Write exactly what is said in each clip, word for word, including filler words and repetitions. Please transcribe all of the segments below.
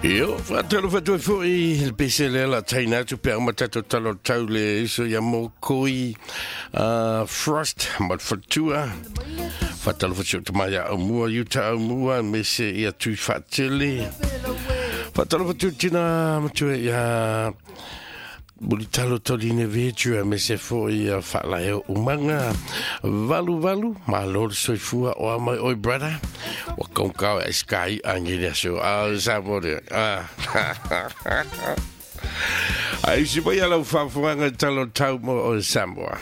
Io, whaatalo whatua foi, le pese lea la taina atu pea uma tato talo tau le iso ia mōkoi uh, Frost ma le whatua. Whaatalo whatua tamaya au mua, Utah au mua, me se ia tui whaatele. Whaatalo whatua tina matua ia Mulitalo toline vetua me se foi ia whaalae o umanga. Valu valu, ma lord soifua o amai oi brother. Wa kaungkau e sky angi le aso. Ah, sa more. Ah. Ai si mai ala whafuanga talo tau mo o Samoa.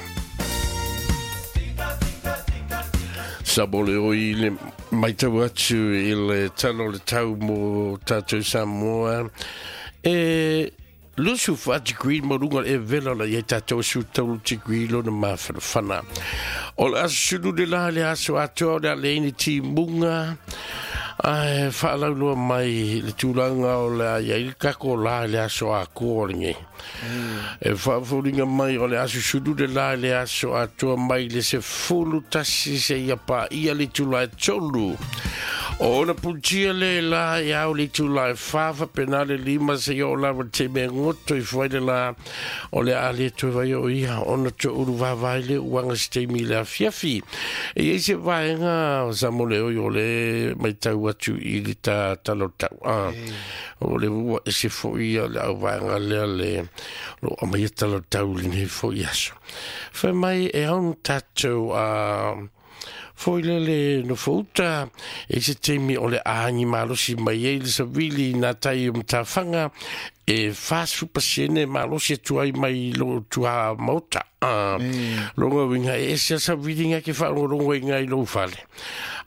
Sabole o i le maitau atu i le talo le tau mo tātou Samoa. E lusu wha degree mo runga e vela la ia tātou su taulu degree lona mawhanawhana. O le aso sulu le la le aso atoa o le aleini ti munga. Ai whaalauloa mai le tūlanga o le ia i kako la le aso a kōringe. E whaafuringa mai o le aso sulu le la le aso atoa mai le se fulu tasi se ia pa ia le tūlai tolu. O ona putia le la i au le tūlai whawha penale lima se i o lawa te me ngoto i whaile la o le ale toi vai o ia ona to uru wawai le uanga se te mi le afiafi. E i se vaenga o sa mole oi o le mai tau atu i le ta talo tau. Ah, o le ua e se fo ia le au vaenga lea le lo amai e talo tau le nei fo i aso. Whai mai e aun tātou a foi lele no fouta e se temi o le aangi malosi mai e le savili nā tai o mtawhanga e whasu pasene malosi tuai mai lo tua mauta. Ah, mm. Longa winga e se savili nga ke wharongo inga i lo fale.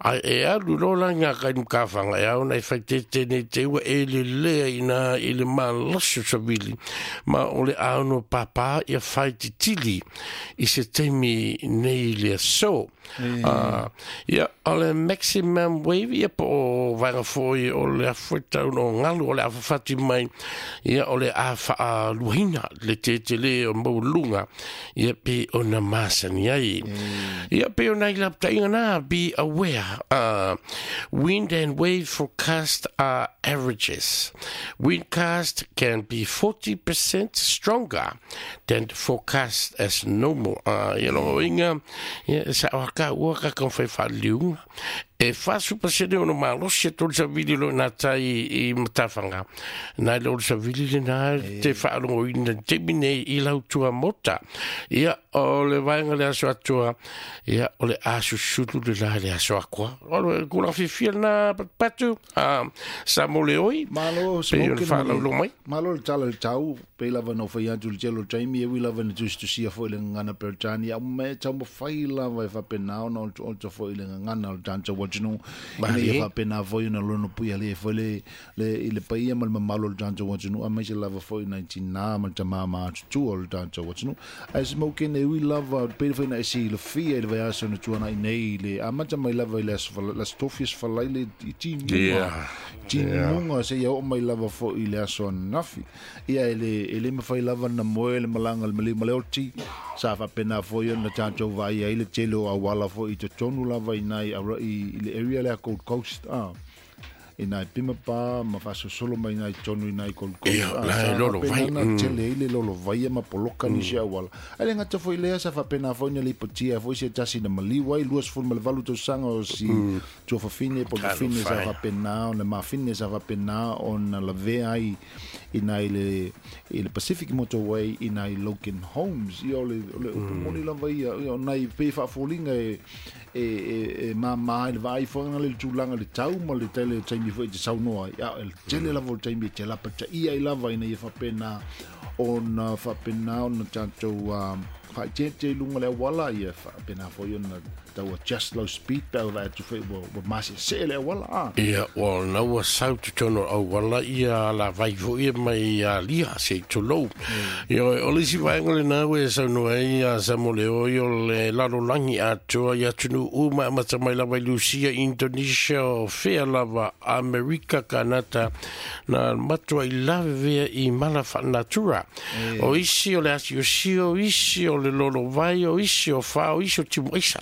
Ai e alu lola nga kai mkawhanga e au nei whaitete nei te ua e le lea ina i le malosi savili. Ma o le auno pāpā ia whaititili i se temi nei le so. Mm. Uh, ia o le maximum wave ia po o vaenga foi o le afueta o ngalu o le awhawhati mai ia o le a whaaluhina le te le o maulunga ia pe o na masani ai. Mm. Ia pe o nai laptainga nā, be aware. Uh, wind and wave forecast are averages. Windcast can be forty percent stronger than forecast as normal. Uh, ia longo inga, ia sa waka ua ka kau whai whaliunga. E whasu pasene ono malosi e tolu sa vili lo nā tai i matawhanga. Nā le olu sa vili le nā te whaalongo ina te mine i lau tua mota. Ia o le vaenga le aso atua, ia o le aso sulu le la le aso akua. O le kula whiwhia nā patu, uh, sa mole oi, malo, pe o le whaalaulo mai. Malo le tala le tau, pe lava no whai atu le telo taimi, e wi lava na tusi tusia fo i le ngana Peretani, au me tau mawhai lava e whapenao na o te fo i le ngana o le tanta wajinu, ina ia whapena foi na lono pui ale foi le le i le paia ma le mamalo o le tanta wajinu, a mai se lava foi na tina ma le tamama atu o le tanta wajinu. Ai smoke ne wi lava pe foi na esi le fia i le vaiaso na tuana i nei le a mata mai lava i le aso tofias falai le i timunga. Timunga se ia o mai lava foi i le aso nafi. Ia ele ele mawhai lava na moe le malanga le mali maleoti sa whapena foi na tātou vai ai le tele o awala foi i te tonu lava i nai i, i le area lea Gold Coast ah. I nai Pimapa ma whasosolo mai nai tonu i nai Gold Coast. Ia, ah, lai lolo vai. Na tele i le lolo vai ma poloka mm. nisi awala. Ai le ngata foi lea sa whapena foi na lipotia foi se tasi na maliwa i luas ful ma le valu tau o si mm. tuafafine po fine sa whapena o na mafine sa whapena o na lavea ai i nai le, i le Pacific Motorway i nai Logan Holmes. Ia o le, o le mm. moni lava ia, ia o nai pe whaafolinga e e e e ma ma le vai foi na le tūlanga le tau ma le tele taimi foi te saunoa ia el tele lava o taimi te lapa ta ia i lava ina ia whapena o na whapena o na tātou whaitete i lunga le awala ia whapena foi o na tau adjust low speed pau vai atu foi wa wa masi se le awala ah. Ia wa na ua sau te tono awala ia la vai foi mai ia lia se tolou. Ia o le si vaenga le na ue sau no ia sa mo le o le lalo langi atoa ia tunu uma mata mai lava i Lucia Indonesia o fea lava Amerika Kanata na matua i lave i mala natura. O isi o le asi o si o isi o le lolo vai o isi o fa o isi o timu isa.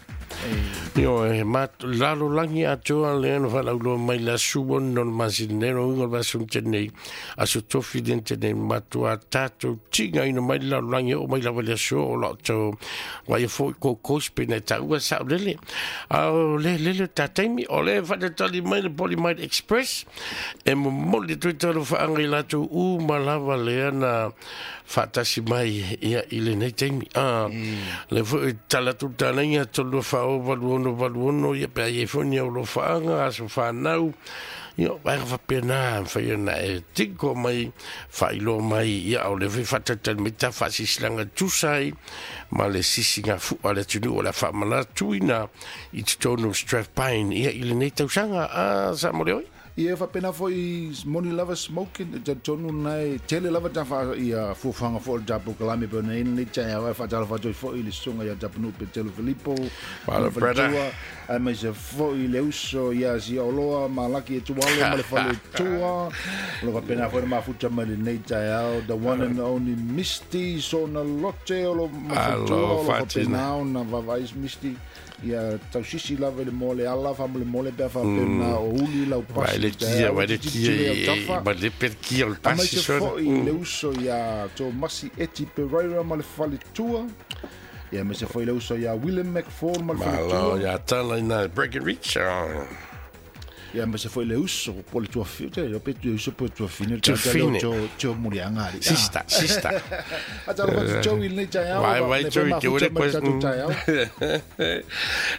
Io e ma lalo langi atoa le no falauloa mai le asu ono le masina nei uiga o le vaiaso na tea nei aso tofi lea na tea nei matuā tatou tigaina mai le lalolagi e oo mai lava i le aso o loo tau vaia foʻi Gold pe na e taua saʻulele a o le lele o tataimi o le faatatali mai le Polymite Express e momoli atu ai talofaaga i latou uma lava lea na faatasi mai ia i lenei taimi a le foʻi tala atu talaiga tolu faa valu ono valu ono ia pe ai foi ni au lofaaga aso whanau ia vaega faapena mafai ona e tiko mai faailoa mai ia o le foi faatatali mai ta faasisilanga tusa ai ma le sisiga fu'a le atunuu o le a faamanatuina i totonu o Strathpine ia i lenei tausaga a sa mo le oi. Ia faapena foʻi moni lava smoking e talitonu lena e tele lava ta faa ia fuafuaga foʻi o le tatou kalame pe ona i ai lenei taeao ae faatalofa atu ai foʻi i le susuga ia Tapunuu Petelo Filipo Malo ma le brother. faletua aemaise foʻi le uso ia Siaoloa Malaki e Tualo ma le faletua o lo faapena foʻi le mafuta mai lenei taeao the one and only Misty Sona Lote o lo ma le faletua Alo o lo fatina. faapena ona vaavaai Misty ia tausisi lava i le moa le ala faamolemole pe a faapena o uli lau Vai pasi le i kia, taeao vai le tilotilo i kia, autafa ma le per kia o le pasi aemaise sona. foʻi le uso ia Tomasi Eti Pereira ma le faletua ia aemaise foʻi le uso ia William McFall ma le Malo faletua ia tala ina Breckenridge. Ah. ia aemaise foʻi le uso po le tuafine te pe le uso po le tuafine le tagata lea o Tuafine. tio tio muliaga ali ah Sista, sista. atalofa atu Joey i lenei taeao Vai, vai, le Joey, te mafuta ore mai le tatou koe. taeao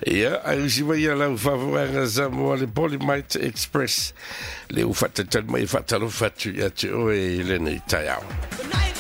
Ia, ai usi mai ia lau faafoeaga sa moa le Polymite Express. Le u faatatali mai e faatalofa atu ia te oe i lenei taeao. Good night.